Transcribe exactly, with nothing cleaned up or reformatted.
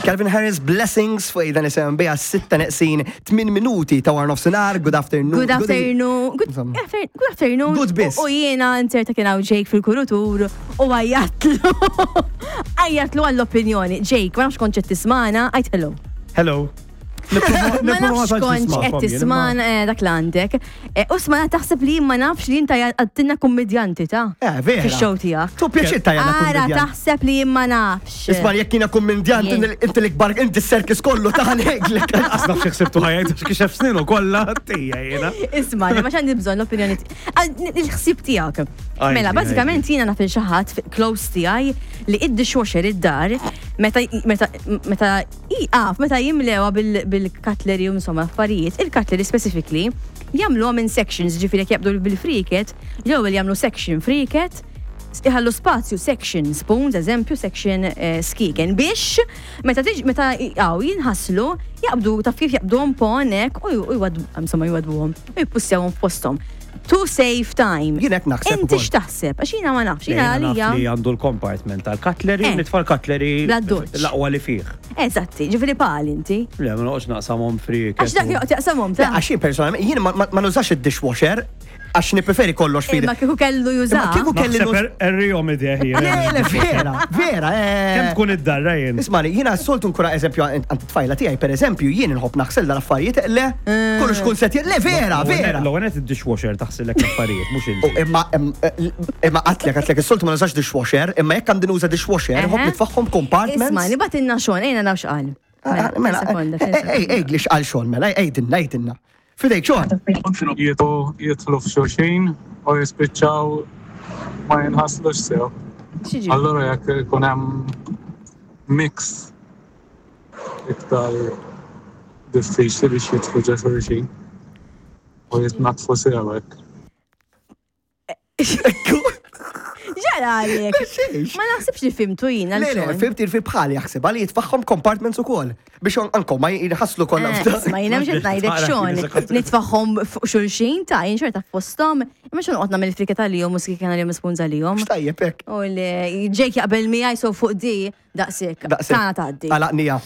Calvin Harris, Blessings fuq Aidan S M B sitta neqsin tmien minuti ta' wara nofsinhar. Good afternoon. Good afternoon. Good Insomma. afternoon. Good afternoon. Good biss. U jiena inserta kien hawn Jake fil-kurutur u għajjatlu. Għajjatlu għall-opinjoni. Jake, ma nafx kontx qed tismagħna, għid hello. Hello. Ma nafx kontx qed tismagħna, eh, dak l-għandek. Eh, U smana taħseb li ma nafx li inta għattinna kummedjanti ta' Eh, vera. fix-show tiegħek. Tu pjaċir ta' jana Ara kummedjant. taħseb li ma nafx. Isma' jekk jiena kummedjant, Jien. inti l-ikbar, inti s-serkis kollu ta' ngħidlek. Għasna fxie xsibtu ħajt, għax kixef sninu kolla, tija jena. Isma, li ma xandi bżonn l-opinjoni ti- Ah, n- il-ħsib tiegħek. Għajdi, Mela, bażikament jiena naf il xi ħadd close tiegħi li id-dishwasher id-dar meta meta meta iqaf meta jimlewa bil- bil-cutlery u insomma affarijiet, il-cutlery specifically jagħmluhom in sections, ġifieri jekk jabdu bil-friket, l-ewwel jagħmlu section friket, iħallu spazju section spoons, eżempju, section eh, skiken, biex meta tiġi meta għaw jinħaslu, jaqbdu taf kif jaqbduhom ponek u u jwadbu, insomma jwadbuhom, u jippussjawhom f'posthom. To save time. Jien hekk naħseb Inti ukoll. x'taħseb? Għax jiena ma nafx, jiena Jiena naf għalija. li għandu l-compartment tal-cutlery, Eh. nitfa' l-cutlery Bla doċ. l-aqwa li fih. Eżatti, ġifieri pal inti. Le, ma noqgħodx naqsamhom fri. Għax dak joqgħod jaqsamhom ta' Għax jien personalment, jien ma- ma ma nużax id-dishwasher, għax nippreferi kollox fidi. Imma kieku kellu juża. Imma kieku kelli Naħseb nuż- er- errijom ideh Le, jien. le, vera, vera. eh. Kemm tkun id-darra jien? Ismani, jiena s-soltu nkura eżempju għand tfajla tiegħi, per eżempju, jien nħobb naħsel dal-affarijiet, le, kollox kun set, le, vera, vera. L-ewwel id-dishwasher taħsillek l-affarijiet, mhux U inti. imma imma għatlek, għatlek, is-soltu ma nużax dishwasher, imma jekk għandi nuża dishwasher, nħobb Eħe. nitfaħħom compartments. Isma, nibatinna xon, ejna nafx qal. Ah, Mela, sekonda, ej, ej, li xqal xogħol, mela, ejdinna, ejdinna. Fidejk xogħol. Jitlu jitlu f'xulxin u jispiċċaw ma jinħaslux sew. X'jiġi? Allura jekk ikun hemm mix iktar diffiċli biex jitlu ġo xulxin u jitnaddfu sew hekk. Ġara għalek. Xiex. Ma naħsibx li fimtu jina Le, le, fimt il bħali jaħseb għali jitfaħħom compartments ukoll biex ankom ma jħasslu kollha. Eh, Ma jina mxet ngħidlek xon, nitfaħħom fuq xulxin ta' jien xorta f'postom, imma xon qotna mill-frika tal-jom u skiken għal-jom spunza l-jom. X'tajjeb hekk. U li Jake jaqbel miegħi so fuq di daqsik. Daqshekk. Tana tgħaddi. Għalaqnija.